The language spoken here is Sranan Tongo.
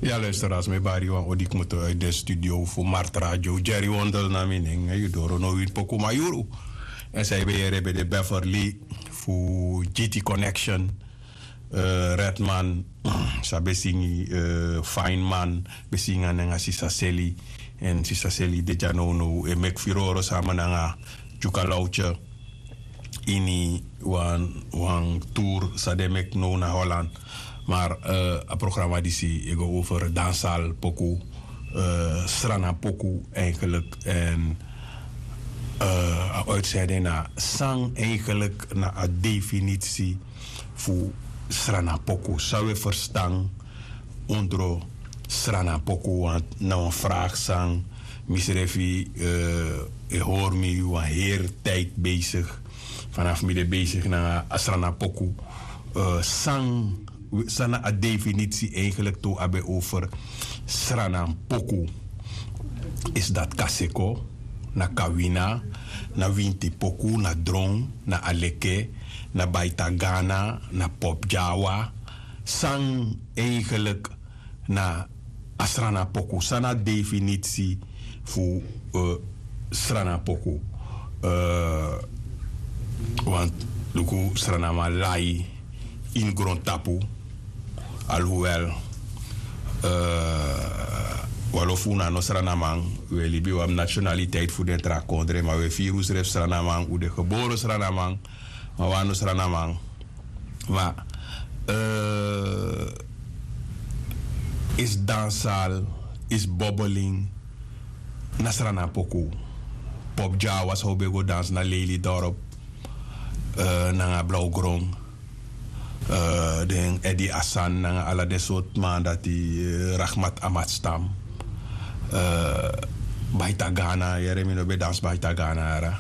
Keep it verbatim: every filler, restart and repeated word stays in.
Ya luisteraars, mi bari wan odi kmoto uit de studio fu Mart Radio. Jerry Wondel na mi nen, yu doro no win poku mayuru. En zij ben yere ben de Beverly fu G T Connection. Eh, Redman, sa ben singi, eh, Fineman, ben singi a nen a Sisa Seli. En Sisa Seli de dya now now, e meki firoro sama nanga Dyuka Lautje. Ini wan, wan tour san den meki now na Holland. Maar, eh, a programma disi e go over dansal poku, eh, Sranan poku eigenlijk. En, eh, a uitzending na san eigenlijk na a definitie fu Sranan poku. San we verstan ondro Sranan poku, want na wan vraag san misrefi, eh, e hori mi wan heri tijd bezig. Vanaf mi de bezig na a Sranan poku. Eh, san, san na a definitie eigenlijk tu abi over Sranan poku. Is dat kaseko, na kawina, na winti poku, na dron, na aleke, na baitagana, na popjawa. San eigenlijk na a Sranan poku, san na definitie fu, eh, Sranan poku. Eh, want luku Sranaman lai ini grontapu, alhoewel, eh, wan lo fu unu a no Sranaman, we libi wan nationaliteit fu den tra kondre, ma we firi usrefi Sranaman, u de gebore Sranaman, ma wan no Sranaman. Ma, eh, is dansal, is bobbeling, na Sranan poku. Popjawa san u ben go dans na Lelydorp, eh, nanga Blauwgrond. Eh, den Edi Asan nanga ala den sortu man dati, eh, Rahmat Amatstam. Eh, Baitagana, yere mi no ben dans Baitagana yara.